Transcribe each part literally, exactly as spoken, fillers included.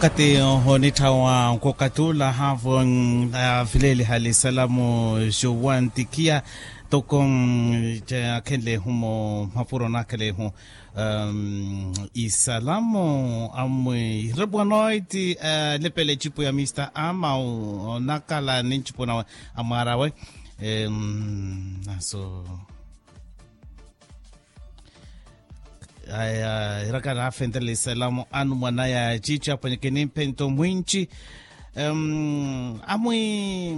Okati onitthawa nkokatula haavo avileeliha lisalamu jowantikhiya toko akhenlehu mapuro nakhelehu isalamu amwi rebuanoiti. Lepele ecipu ya mista amau onakala ni ncipu nawe amwarawe naso aya irakana afentelela isalamu anu mwanaya cici apwenyeke ni mphento mwinci. Amwi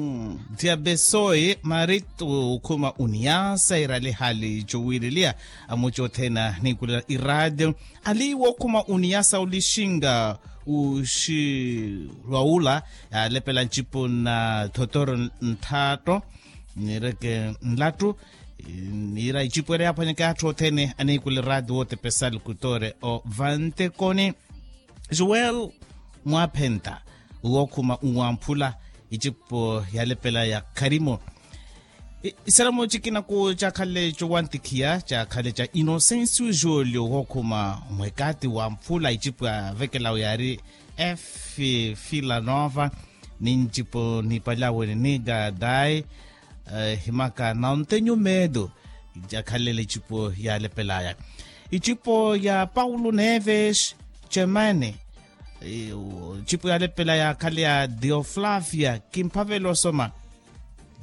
diabesoyi mari okhuma uniyasa irali hali cuwililiya amwi cothene anikulela iradio ali wookhuma uniyasa olixinga uxi lwa ula yalepela ncipu na thotoro nthaatto nireke nlattu. Niira icipu ela yaaphwanyeke atthu othene aniikula eraati wootepesa alukutore o vantekoni. Joel mwaaphenta wookhuma nwamphula icipu yalepela ya kharimo. Isalamu cikina ku cakhalle cowantikhiya cakhalle ca inocencio jolio wookhuma mwekati wamphula icipu yavekelawe yaari efi fila nova ni ncipu nipalyawe ni nigadai. Himaka na ontenyu medo jakhalele icipo yalepelaya icipo ya paulo neves cemane. Icipo yalepelaya khale ya dioflavia kimphavela osoma.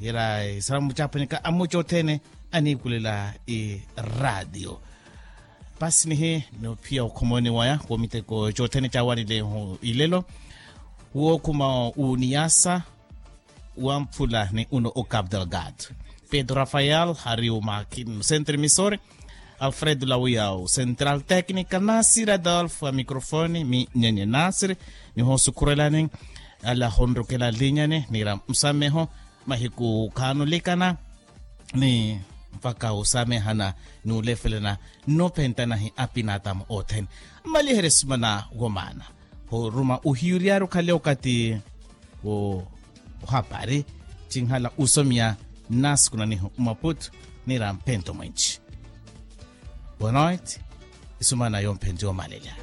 Ira isalamu caphwenyeka amuca othene anikulela iradio. Pasi nihi nophiya okhomoni waya womiteko cothene cawanilehu ilelo wookhuma uniyasa wamphula ni uno o cap delgado. Pedro rafael hari umakin centre misore alfredo lawiyau central tecnica nasir adolfo a microfone mi nyenye nasir. Niho sukhurelani ala honrukela linyani nira musameho mahiku khanulikana ni mpakha osamehana ni ulefelana nnophentanahi apinatamu othene. Mmaliherye sumana womaana horuma ohiyuryari okhale okati wo ohapari cinhala usomiya nnasukunanihu mmaputu nira mphento mwinci. Bonoit isumana yomphenti yomalelya.